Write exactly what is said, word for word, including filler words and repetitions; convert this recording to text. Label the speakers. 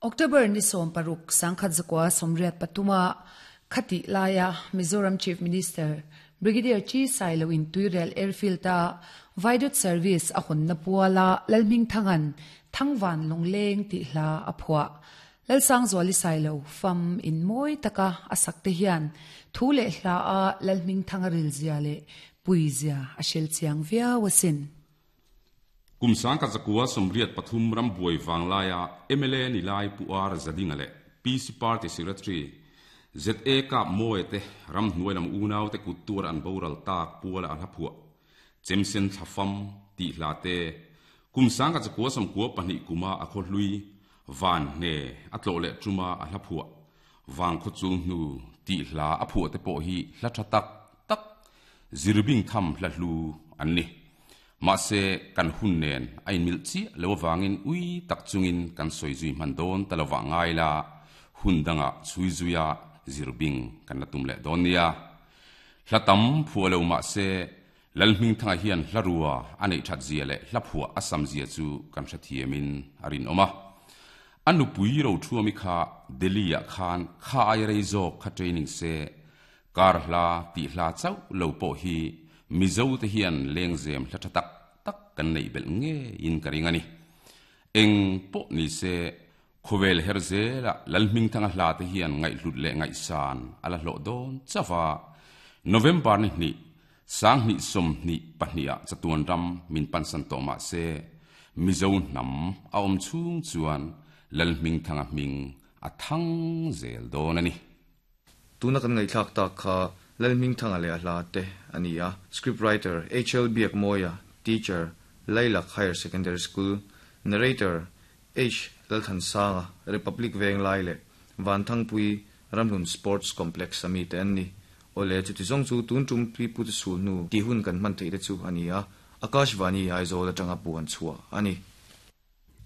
Speaker 1: October ni sawm paruk sangkhat zakua sawmriat pathuma khati laia Mizoram Chief Minister Brigadier Chi Sailo in Tuirial Airfield a Viaduct Service a hawnna puala Lalhmingthanga'n Thangvan Lungleng tih hla a phuah. Lalsangzuali Sailo fam in mawi taka a sak te hian thu leh hla a Lalhmingthanga rilzia leh puizia a hrel chiang viau asin.
Speaker 2: Kum sangkhat zakua sawmriat pathum ram buai vanglaia M L A ni lai Pu Ar Zadinga leh P C Party Secretary Z A Kap Mawi te ramhnuai lam unau te kut tuar an boral tak puala a hla phuah Chemsen Thlafam tih hla te, kum sangkhat zakua sawmkua pahnih kuma a khaw hlui Van hne a tlawh leh tuma a hla phuah Vang khaw chul hnu tih hla a phuah te pawh hi hla tha tak tak zirbing tham hla hlu an ni. Mahse kan hun nen a inmil chiah lo avangin ui tak chungin kan sawi zui hman dawn ta lova ngai la, hun danga chhui zuia zirbing kan la tum leh dawn nia. Hla tam phuah lo mahse Lalhmingthanga hian hla rua a neih that zia leh hla phuah a sam zia chu kan hrethiamin a rinawm a. A nupui ro thuami kha Delhi ah khan kha ai rei zawk kha training se, kar hla tih hla chauh lo pawh hi Mizo te hian lengzem hla tha tak tak kan neih belh ngeiin ka ring a ni. Eng pawh ni se khawvel her zela Lalhmingthanga hla te hian ngaihhlut leh ngaihsan a la hlawh dawn chauh a. November ni hnih sanghnih sawmhnih pahnih ah chatuan ram min pansan tawh mah se Mizo hnam a awm chhung chuan Lalhmingthanga hming a thang zel dawn a ni.
Speaker 3: Tuna kan ngaihthlak tak kha Lalhmingthanga leh a hla te a ni a. Script writer H L Biakmawia, teacher, Lailak Higher Secondary School. Narrator H Lalthansanga, Republic Venglai leh Vanthangpui Ramhlun Sports Complex ami te an ni. Ole, chuti zawng chu tun tum pi pu te sul hnu ti hun kan hman theih te chu a ni a. Akashvani Aizawl atanga puan chhuah a ni.